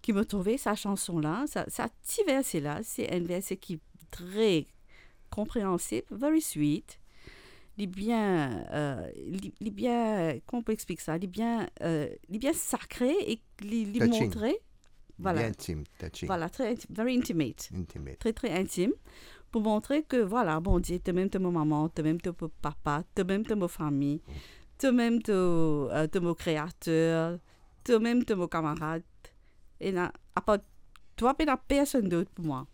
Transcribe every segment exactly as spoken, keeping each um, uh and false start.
ki mo trouve sa chanson la, sa, sa ti verse la, se enn verse ki tre konpreansib, very sweet. Li bien, euh, li, li bien, kouma pou explik sa? Li bien, euh, li bien sakre e li, li montre, vwala, bien intim, touching. Vwala, tre inti-, very intimate. Intimate. Tre, tre intim. Pou montre ke, vwala, Bondie, to mem to mo mama, to mem to mo papa, to mem to mo fami, to mem to, euh, to mo kreater, to mem to mo kamarad. Ena, apar twa, pena personn dot pou mwa.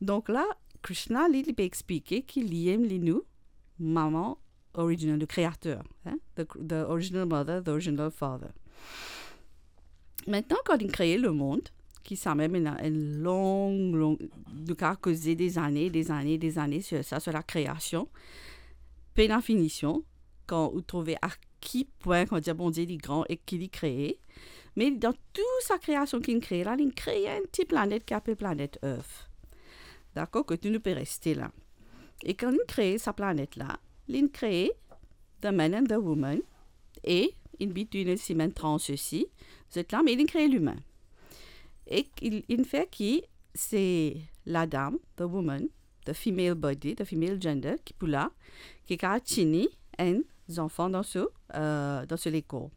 Donk la, Krishna, li, li pe explike ki li mem li nou mama original, le kreater, hein? The, the original mother, the original father. Aster, kan li kree lemond, ki sa mem ena enn long, long, nou kav koze dezane, dezane, dezane sir sa, sir lakreasion, pena finision, kan ou trouve a ki pwin, kan dir Bondie li gran e ki li kree. Me dan tou sa kreasion ki li kree la, li kree enn ti planet ki apel planet Earth. Dakor, kot nou pe reste la. E kan li kree sa planet la, li kree the man and the woman, e in between osi, enn trans osi, zot la, me li kree limin. E li, li fer ki se ladam, the woman, the female body, the female gender, ki pou la, ki kav tini enn zanfan dan so, euh, dan so lekor.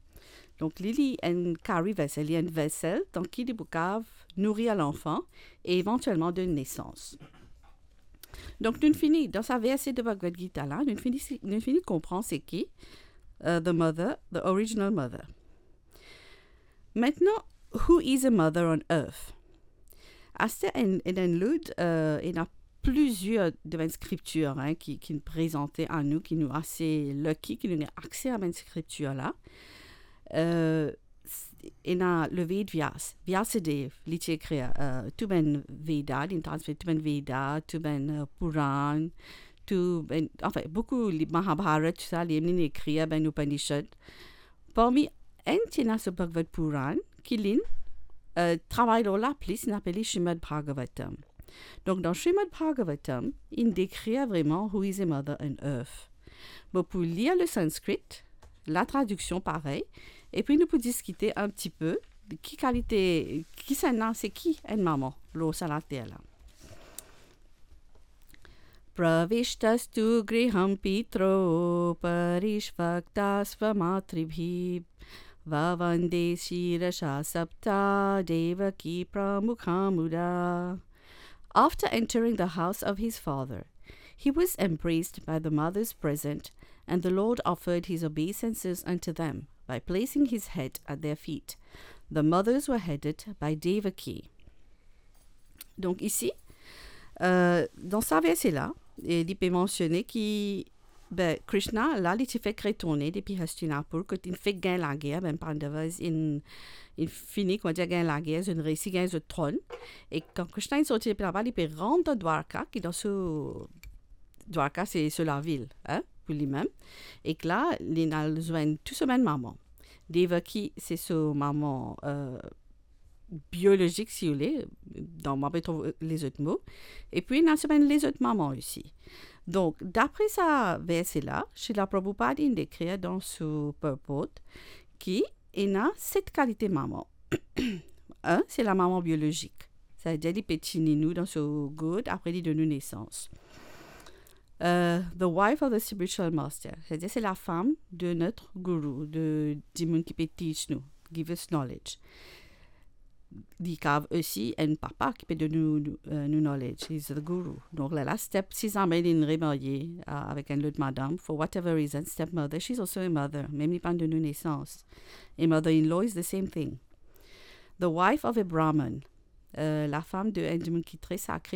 Donk, li, li enn carry vessel, li enn vesel, dan ki li pou kav nourir lanfan e evantielman donn nesans. Donk, nou fini, dan sa verse de Bhagavad Gita la, nou fini, nou fini konpran se ki, euh, the mother, the original mother. Aster, who is a mother on earth? Aster, enn, enn, enn lot, euh, ena plizier de bann skriptir, hein, ki, ki prezante a nou, ki nou ase lucky, ki nou ena akse a bann skriptir la. Euh, s-, ena le Ved Vyas, Vyasadeva, li ti ekrir, euh, tou bann Veda, li transmet tou bann Veda, tou bann, euh, Puran, tou bann, anfin, boukou, li Mahabharat, tou sa, li, li ekrir bann Upanishad. Parmi enn ti ena so Bhagavad Puran, ki li, euh, travay lor la plis, li apel li Srimad Bhagavatam. Donk, dan Srimad Bhagavatam, li dekrir vreman who is a mother on earth. Bon, pou lir le sanskrit, la tradiksion parey, epi nou pou diskite enn ti pe ki kalite, kisannla, se ki enn mama lor sa later la. Pravishtastu griham pitro parishvaktasva matribhi, bhavande shirasa sapta Devaki pramukha mudha. After entering the house of his father, he was embraced by the mothers present, and the Lord offered his obeisances unto them by placing his head at their feet. The mothers were headed by Devaki. Donk isi, euh, dan sa verse la, e li pe mansione ki, ben, Krishna la, li ti fek retourne depi Hastinapur, kot inn fek gagn lager, ben, Pandavas inn, inn fini, kouma dir, gagn lager, zot inn resi gagn zot tronn. E kan Krishna inn sorti depi laba, li pe rant dan Dwarka, ki dan so, Dwarka se so lavil, hein, pou limem. Ek la, li inn al zwenn tou so bann mama. Devaki, se so mama, euh, biolozik, si ou le, dan, mo pe trouv lezot mo. Epi, ena so bann lezot mama osi. Donk, dapre sa verse la, Srila Prabhupada inn dekrir dan so purport ki ena set kalite mama. Enn, se lamama biolozik. Savedir li pe tini nou dan so gourd, apre li donn nou nesans. Euh, the wife of the spiritual master, savedir se lafam de notre guru, de dimoun ki pe teach nou, give us knowledge. Li kav osi enn papa ki pe donn nou, nou, euh, nou knowledge. He's the guru. Donk, la, la step, si zame li remarye, euh, avek enn lot madam, for whatever reason, stepmother, she's also a mother. Mem li pa'nn donn nou nesans. A mother-in-law is the same thing. The wife of a Brahman, euh, lafam de enn dimoun ki tre sakre,